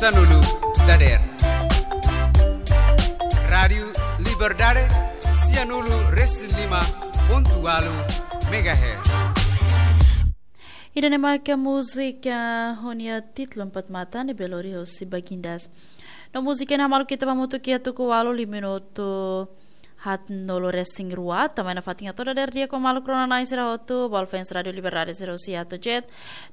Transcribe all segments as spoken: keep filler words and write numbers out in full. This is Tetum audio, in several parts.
Sanulu dader. Rádiu Liberdade, sianulu resin lima pontu walu megahertz. Ida-ne'e mak múzika ho nia títulu Empat Mata ne'ebé lori hosi Bagindas. No múzika ne'e hamaluk ita ba hamutuk iha tuku walu liu minutu haatnulu resin rua, tanba ne'e nafatin hato'o dader di'ak ho maluk rona-na'in sira hotu, ba fans Rádiu Liberdade sira husi A to Z.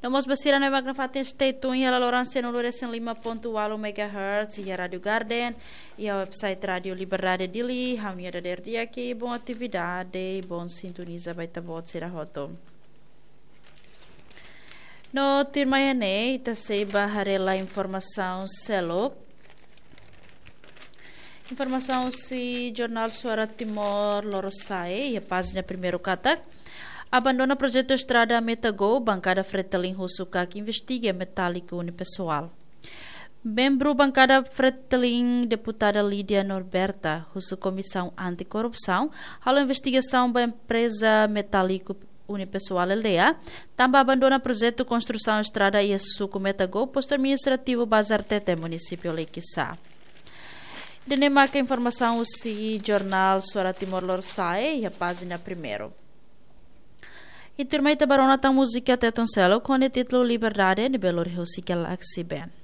No mós ba sira ne'ebé mak nafatin stay tune iha laloran sianulu resin lima pontu walu megahertz, iha Rádiu Garden, iha website Rádiu Liberdade Dili, ha'u-nia dader di'ak, bom atividade, bom sintoniza ba ita-boot sira hotu. No tuirmai ne'e, ita sei ba haree lai informasaun seluk. Informasaun husi Jornál Suara Timor Lorosa'e, iha pájina primeiru katak: Abandona projetu estrada Metagou, bankada Fretilin husu KAK investiga metáliku unipessoal. Membru bankada Fretilin, deputada Lídia Norberta, husu Komisaun Anti-Korrupsaun halo investigasaun ba empreza metáliku unipessoal aldeia, tanba abandona projetu konstrusaun estrada iha suku Metagou, postu administrativu Bazartete, munisípiu Laikisá. Ida-ne'e maka informasaun husi Jornál Suara Timor Lorosa'e, iha pájina primeiru. I tuirmai ita ba rona tan múzika Tetun seluk ho nia títulu Liberdade, ne'ebé lori hosi Galaxy Band.